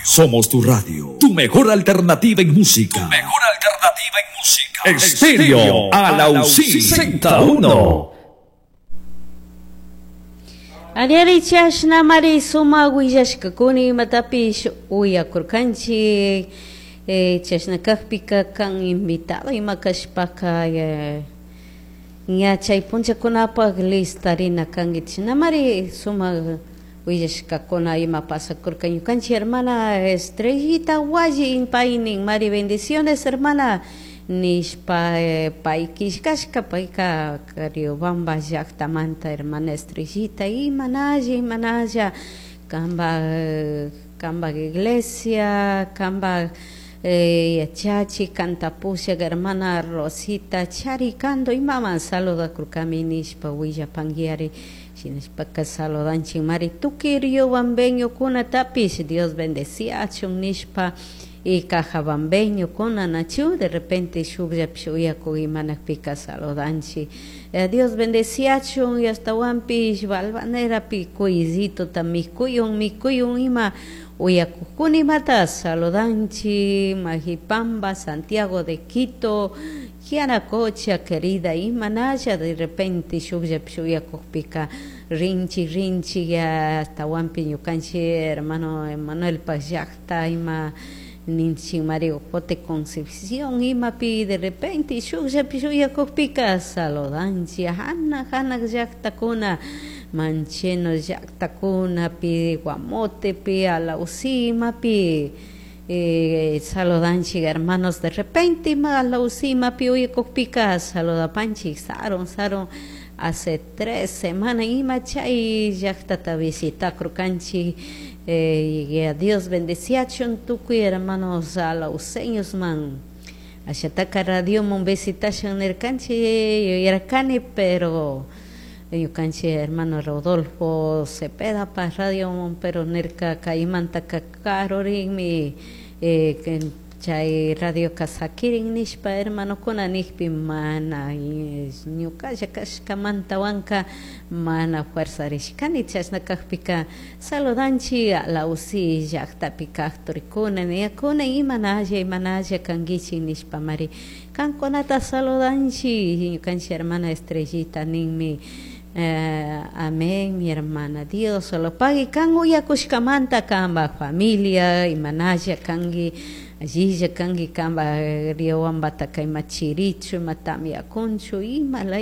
Somos tu radio, tu mejor alternativa en música. Tu mejor alternativa en música. Estéreo Alausí Z1. Ariari chashnamari sumak willashkakuna imatapish uyakurkanchik chashna kakpika kan invitado ima kashpaka ña chay punllakunapak listarina kanki chishnamari sumak willashkakuna ima pasakurka ñukanchik hermana Estrellita Walli paynin mari bendiciones hermana nishpa pay killkashka payka Riobamba llaktamanta hermana Estrellita imanalla imanalla kanpak kanpak iglesia kanpak yachachi kanta pushak hermana Rosita Charicando imaman saludakurkami nishpa willapankiari shinashpaka saludanchik mari tukuy riobambeñokunatapish Dios bendeciachun nishpa y cajabambeñokuna nachu de repente shukllapish uyakuk imanakpika saludanchik. Dios bendeciachun y ashtawanpish Valvanerapi cuyllituta mikuyun mikuyun ima uyakukuna imata saludanchik Majipamba, Santiago de Quito, Yanacocha querida imanalla de repente shukllapish uyakukpika rinchik rinchik ashtawanpi ñukanchik hermano Emanuelpak llakta ima ninchik María Jote Concepción imapi de repente shukllapish uyakukpika saludanchik hanak hanak llaktakuna Mancheno llaktakunapi Guamotepi Alausí imapi saludanchik hermanos de repente ima Alausí imapi uyakukpika saludapanchik sarun sarun hace 3 semanas ima chay llaktata visitakurkanchik y a Dios bendeciachun tukuy hermanos alauseños man ashataka radioman visitashun nirkanchik yuyarkani pero ñukanchik hermano Rodolfo Cepeda pa radioman pero nirka kaymantaka karurinmi chay radioka sakirin nishpa hermanokuna nikpi mana ñukalla kashkamantawanka mana fuerzarishkani chashna kakpika saludanchik Alausí llaktapi kak turikuna ñakuna imanalla imanalla kankichik nishpamari kankunata saludanchik ñukanchik hermana Estrellita ninmi. Amén, mi hermana. Dios solo pague kan uyakushkamanta kanpak familia imanalla kanki allilla kanki kanpak Riobambataka ima chirichu ima tamyakunchu ima.